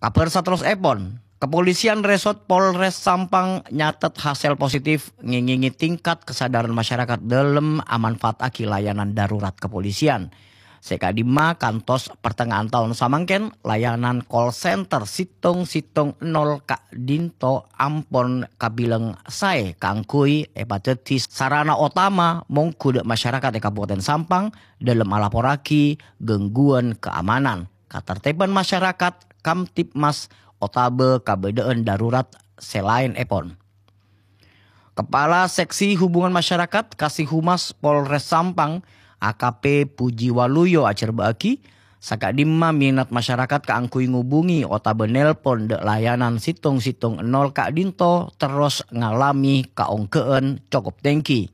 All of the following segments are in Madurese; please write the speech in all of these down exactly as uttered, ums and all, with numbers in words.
Kabhâr saterrossèpon, Kepolisian Resort Polres Sampang nyatet hasèl positif ngèngèngè tingkat kesadaran masyarakat dâlem amanfaataghi layanan darurat kepolisian. Sè ka'dimma kantos pertengahan taon samangkèn, layanan call center sèttong sèttong nol ka'dinto ampon kabilang saè kaangghuy èpadhâddhi sarana otama mongghu dâ' masyarakat è Kabupaten Sampang dâlem alaporraghi gangguan keamanan, katertiban masyarakat, Kamtibmas, otabâ kabâdâ'ân darurat sè laènèpon. Kepala Seksi Hubungan Masyarakat Kasihumas Polres Sampang, A K P Puji Waluyo ajhârbâ'âghi, saka'dimma minat masyarakat kaangghuy ngobungè otabâ nelpon dâ' layanan sèttong sèttong nol ka'dinto terros ngalamè kaonggâ'ân cokop tèngghi.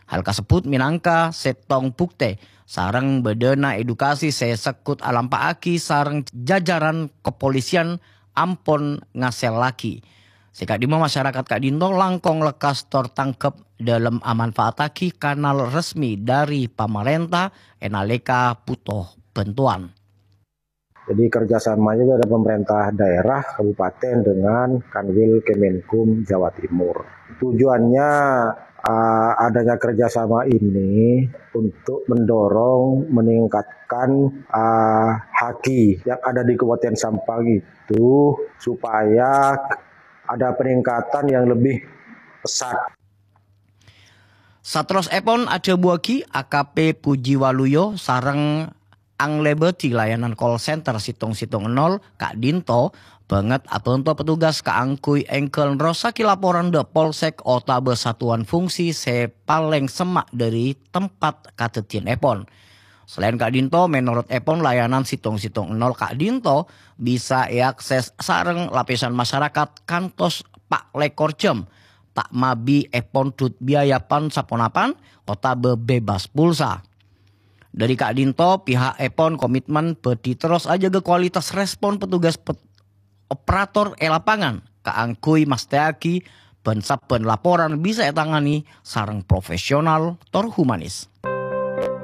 Hal kasebbhut mènangka sèttong buktè sareng bâdâna edukasi sè segghut alampa'aghi sareng jajaran kepolisian ampon ngasèllaghi. Sè ka'dimma masyarakat ka'dinto langkong lekkas tor tangghep dâlem amanfaataghi kanal resmi dâri pamarènta è nalèka bhuto bhântowan. Jadi kerjasama juga ada pemerintah daerah kabupaten dengan Kanwil Kemenkum Jawa Timur. Tujuannya, ah, adanya kerjasama ini untuk mendorong, meningkatkan, ah, haki yang ada di Kabupaten Sampang itu supaya ada peningkatan yang lebih pesat. Saterrossèpon adhâbuwâghi A K P Puji Waluyo sareng anglèbâdhi layanan call center sèttong sèttong nol ka'dinto bângèt abhânto petugas kaangghuy èngghâl nerrossaghi laporan dâ' polsek otabâ satuan fungsi sè palèng semma' dâri tempat kadhâddhiyânèpon. Salaèn ka'dinto, mènorot èpon layanan sèttong sèttong nol ka'dinto bisa èakses sareng lapèsan masyarakat kantos pa' lèkor jam, ta' mabi èpondhut biaya pan-saponapan otabâ bebas pulsa. Dâri ka'dinto, pihak èpon komitmen bhâdhi terros ajâgâ kualitas respon petugas pet-, operator è lapangan kaangghuy mastèyaghi bân-sabbhân laporan bisa ètangani sareng profesional tor humanis.